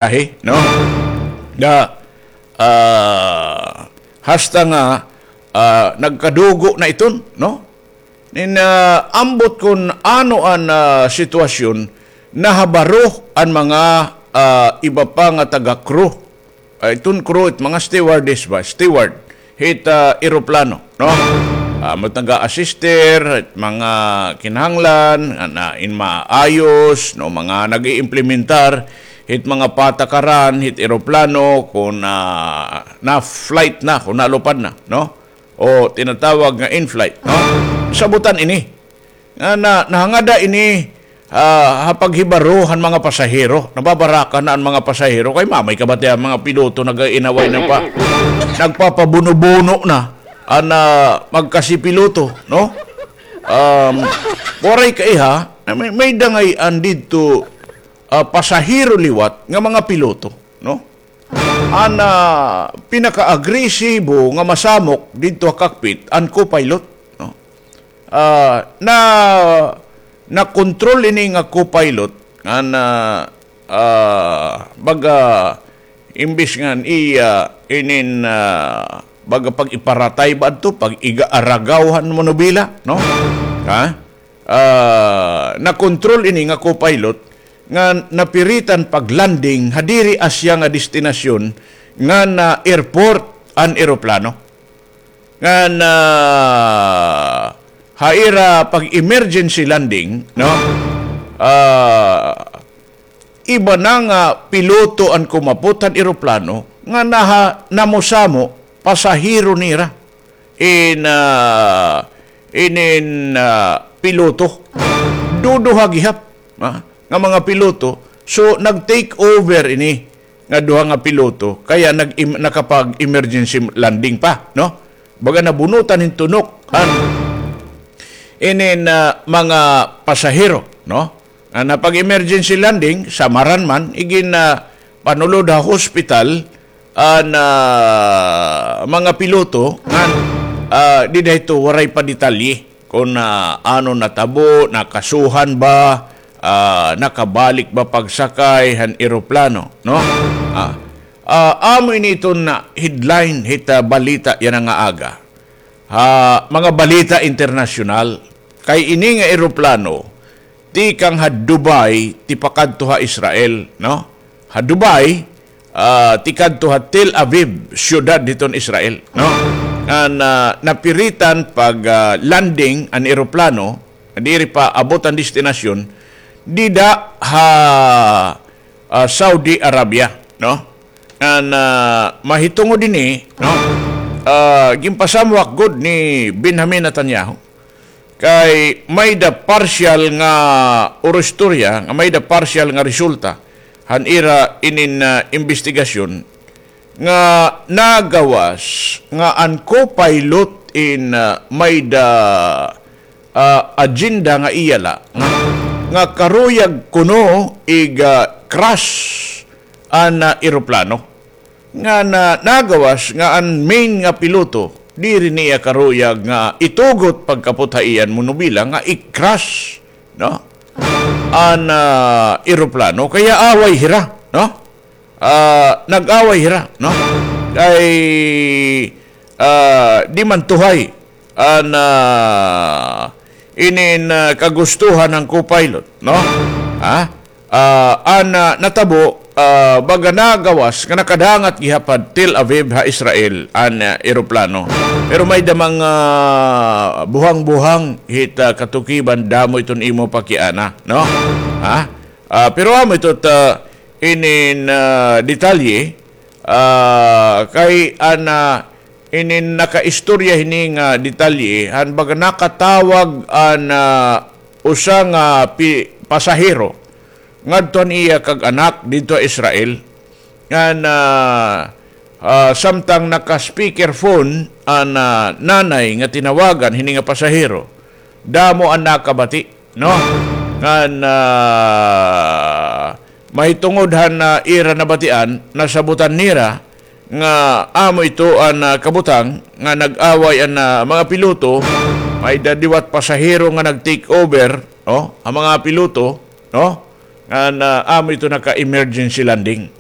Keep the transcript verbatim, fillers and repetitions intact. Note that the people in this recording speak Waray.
biyahe, no? Da, ah, hasta nga, ah, nagkadugo na iton, no? Nin, ah, ambot kon ano an, ah, sitwasyon, nahabaro an mga, ah, iba pa nga taga-crew. Ah, iton crew, it mga stewardess ba? Steward. Hit, ah, eroplano, no? Ah, mga taga-assister, hit mga kinahanglan, nga na, in maayos, no? Mga nag-iimplementar, hit mga patakaran, hit eroplano, kung, ah, na-flight na, kung nalupad na, no? O tinatawag nga in-flight, no? Sabutan ini. Nga na, nahangada ini, ah, ha paghibaro han mga pasahero. Nababaraka na an mga pasahero. Kay mamay ka ba tiya, mga piloto nag-inaway na pa. Nagpapabuno-buno na an, ah, magkasipiloto, no? Um, waray kaiha, may, may dangay an didto, ah, pasahero liwat nga mga piloto, no? An, ah, pinaka-agresibo nga masamok didto ha cockpit, an co-pilot, no? Ah, na, nakontrol ini nga co-pilot, nga na, ah, baga, imbis ngan iya, inin, ah, baga pag-iparatay ba adto, pag-iga-aragaw han manobela, no? Ha? Ah, nakontrol ini nga co-pilot nga napiritan pag-landing ha diri asya nga destinasyon nga na airport an eroplano. Nga na ha ira pag-emergency landing, no? Ah, iba na nga piloto an kumapot han eroplano nga naha-, namusamo pasahero nira. In, ah, inin, ah, piloto. Duduha gihap, ah, nga mga piloto. So, nag-take over ini nga duha nga piloto, kaya nag-im-, nakapag-emergency landing pa, no? Baga nabunutan hin tunok an inin, ah, mga pasahero, no? Nga napag-emergency landing, samaran man, igin, ah, panulod ha hospital, an, ah, mga piloto, ngan, ah, dida hito waray pa detalye kon, ah, ano natabo, nakasuhan ba, ah, nakabalik ba pagsakay han eroplano, no? Ah, ah, amo ini iton na headline hit, ah, balita yana nga aga. Ha mga balita internasyonal, kay ini nga eroplano tikang ha Dubai tipakadto ha Israel, no? Ha Dubai, ah, tikadto ha Tel Aviv, siyudad hiton Israel, no? Nga na, napiritan pag, ah, landing an eroplano, diri pa abot an destinasyon, dida ha, ah, Saudi Arabia, no? Nga na, mahitungod ini, no? Ah, ginpasamwak gud ni Benjamin Netanyahu. Kay may-ada partial nga urustorya, nga may-ada partial nga resulta han ira inin, ah, imbestigasyon nga nagawas nga an co-pilot in, ah, may-ada, ah, agenda nga iya la nga, nga karuyag kuno ig, ah, crash an, ah, eroplano. Nga na, nagawas nga an main nga piloto, diri niya karuyag nga itugot pagkapot ha iya an monobela nga i-crash, no? An, ah, eroplano, kaya away hira, no? Ah, nag-away hira, no? Kay, ah, di man tuhay an, ah, inin, ah, kagustuhan han co-pilot, no? Ha? Ah, an, ah, natabo, ah, baga nagawas nga nakadangat gihap ha Tel Aviv ha Israel an, ah, eroplano. Pero may-ada mga buhang-buhang hit, ah, katukiban, damo iton imo pakiana, no? Ha? Ah, pero amo ito ta inin, ah, detalye, ah, kay an, ah, inin nakaistorya hini nga detalye, han baga nakatawag an, ah, usa nga pi-, pasahero ngadto han iya kag anak didto ha Israel. Ngan, ah, ah, samtang naka-speakerphone an, ah, nanay nga tinawagan hini nga pasahero, damo an nakabati, no? Ngan, ah, mahitungod han, ah, ira nabatian, nasabutan nira nga amo ito an, ah, kabutang nga nag-away an, ah, mga piloto, may-ada liwat pasahero nga nag-take over, no? An mga piloto, no? Ngan, ah, amo ito naka-emergency landing.